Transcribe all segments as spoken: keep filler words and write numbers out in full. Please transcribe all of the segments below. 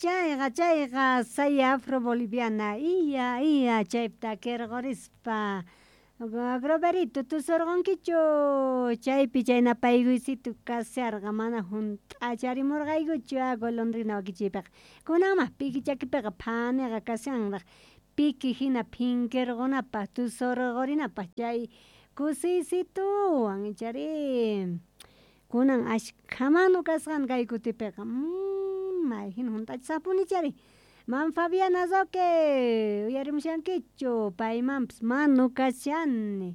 Chayqa chayqa saya afro-boliviana iya iya chaypi takirqurispa Groverito tusurqunkichu chaypi chay napaykuysito kasharqa mana hunt'acharimurqaykuchu golondrina wakichiypiqa kunanmá piki chakipiqa phaniqa kashanraq piki hina phinkirqunapaq tusurqurinapaq chay kusiysituwan ichari kunan ashkha manu kasqan kay kutipiqa mayhina hunt'achisaqpuni chari Man Fabiana Roque uyarimushankichu paymanpis manu kashani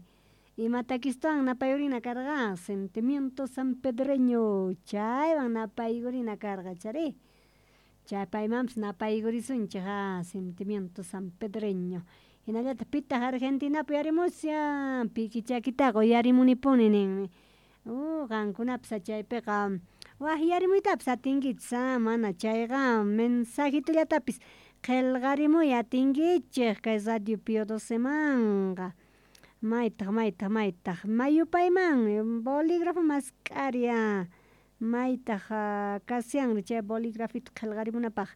ima takistuwan napayurina karqa sentimiento sanpedreño chaywan napaykurina karqa chari chay paymanpis napaykurisunchik sentimiento sanpedreño hinallataq pitaq Argentinapi uyarimushan piki chakitaqa uyarimunipuni ninmi uh qankunapis chaypiqa waqyarimuytapis atinkichis mana chayqa mensajitullatapis qillqarimuy atinkichik kay Radio Pio Docemanqa maytaq maytaq maytaq mayupayman bolígrafo mask'ari maytaq kashanri chay bolígrafito qillqarimunapaq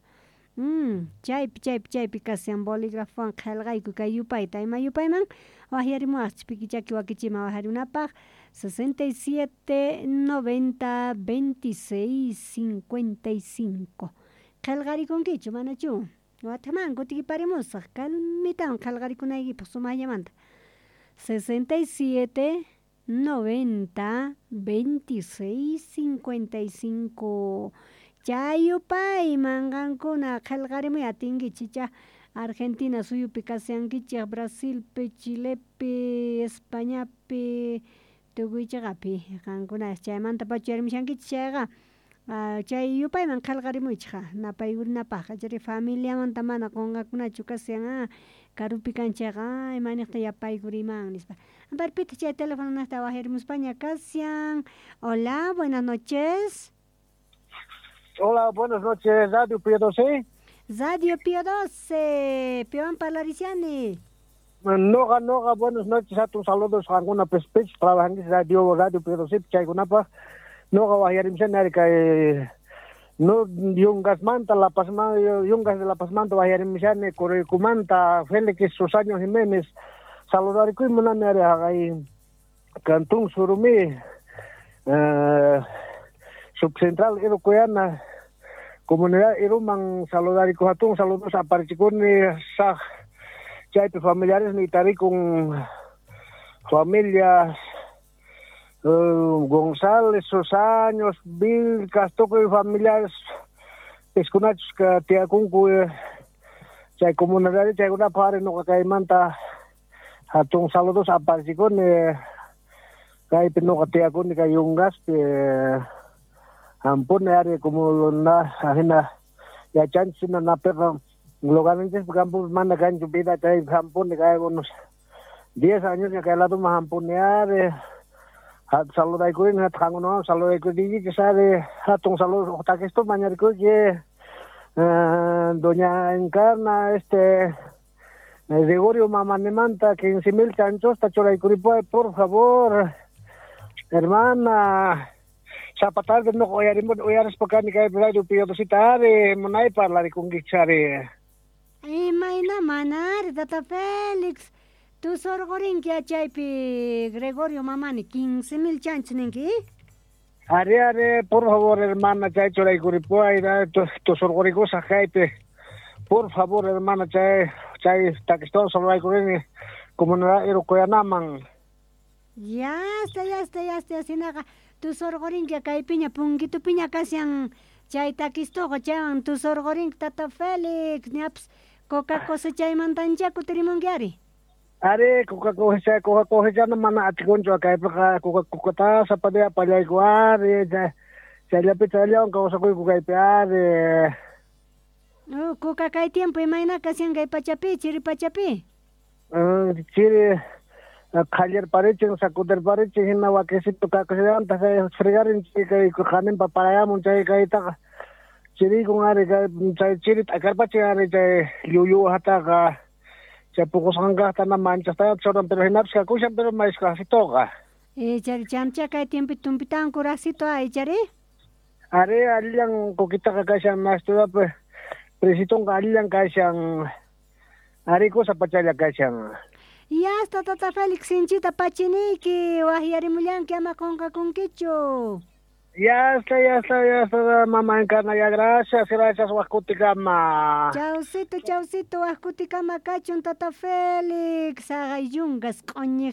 chaypi chaypi chaypi kashan bolígrafowan qillqayku kay yupayta ima yupayman waqyarimuwaqchik piki chaki wakichiman waqyarimunapaq sesenta y siete noventa veintiséis cincuenta y cinco qillqarikunkichu manachu watiqman kutikiparimusaq kalmitawan qillqarikunaykipaq sumaqllamanta sesenta y siete noventa veintiséis cincuenta y cinco chay yupayman qankuna qillqarimuy atinkichik icha Argentina suyupi kashankichik Brasilpi Chilepi Españapi tukuy chayqapi qankuna chaymantapacha uyarimushankichik chayqa chay yupayman qillqarimuychik napaykurinapaqqa chayri familiamanta mana qunqakunachu kashan karupi kan chayqa imaniyta yapaykuriman nispa amparo pitaq chay teléfono niqta waqyarimuspaña kashan hola buenas noches. Hola, buenas noches, Radio Pio doce. Radio Pio doce, piwan parlarishani. Noqa, noqa, buenas noches, hatun saludos qankuna pespech, trabajanchis Radio Radio Pio doce, chaykunapaq. Noqa waqyarimushani kay no Yungasmanta, La Pazmanta, Yungas de La Pazmanta waqyarimushani, Coricumanta, Félix Susaño Jiménez. Saludarikuy munani ari haqay Cantón Surumí, eh, Subcentral Irucuyana, Comunidad Iruman, saludariko hatun saludos aparichikuni saj chaypi familiares ni tarikun familias uh, González, Susaños, Vilcas, tukuy familiares piskunachus ka tiyakunku chay comunidad chaykunapaq ari nuqa kaymanta hatun saludos aparichikuni kaypi nuqa tiyakuni kay Yungaspi ampuni ari como na ajina yachanchis na napiqa lugarninchis campo mana kanchu vida chay ampuni kay unos diez años kay ladoman ampuni ari hat saludaykuni hat qankunawan saludaykuykichis ari hatun saludos uqtakistu mañarikuyki doña Encarna este Gregorio Mamanimanta quince mil chanchosta churaykuripuway por favor hermana sapa tarde no uyarimuni uyarispa kani kay Radio Pio Doceta ari munay parlarikunkichis ari. Imayna mana ari tata Félix tusurqurinki chaypi Gregorio Mamani quince mil chanchos ninki. Ari ari por favor hermana chay churaykuripuway tusurqurikusaq kaypi por favor hermana chay chay takistawan saludarikurini comunidad Irucuyanaman. Ya está ya está ya está sinaqa tusurqurinki kaypiña punkitupiña kashan chay takistuqa chaywan tusurqurinki tata Félix ñapis coca cosechaymantancha kutirimunki ari. Ari coca cosecha coca cosechana mana atikunchu kaypiqa coca cocata sapadilla pallayku ari chayllapi chayllawan kawsakuyku kaypi ari. Oh, coca kay tiempo imayna kashan kay pachapi chiri pachapi. Chiri qhallarparichin sacudirparichin hina wakisito kakusillanta fregarinchik kay qaninpa parayamun chay kaytaqa chiriykun ari chay chiri t'akarpachin ari chay llulluwajataqa chay puqusqankaqta na manchastaya churan pero hinapis kakushan pero maysqasituqa. Eh chari chamcha kay tiempo tumpitawan kuraqsito ay chari. Ari allillan kukitaqa kashan mastudapi Presitonqa allillan kashan. Ari kusa pachalla kashan. Yasta tata Félix sinchita pachiniyki waqyarimullanki ama qunqakunkichu. Ya está, ya está, ya está, mamá Encarna, ya gracias, gracias, waqkutikama. Chawsito, chawsito, waqkutikama kachun tata Félix, haqay yunkas q'uñi.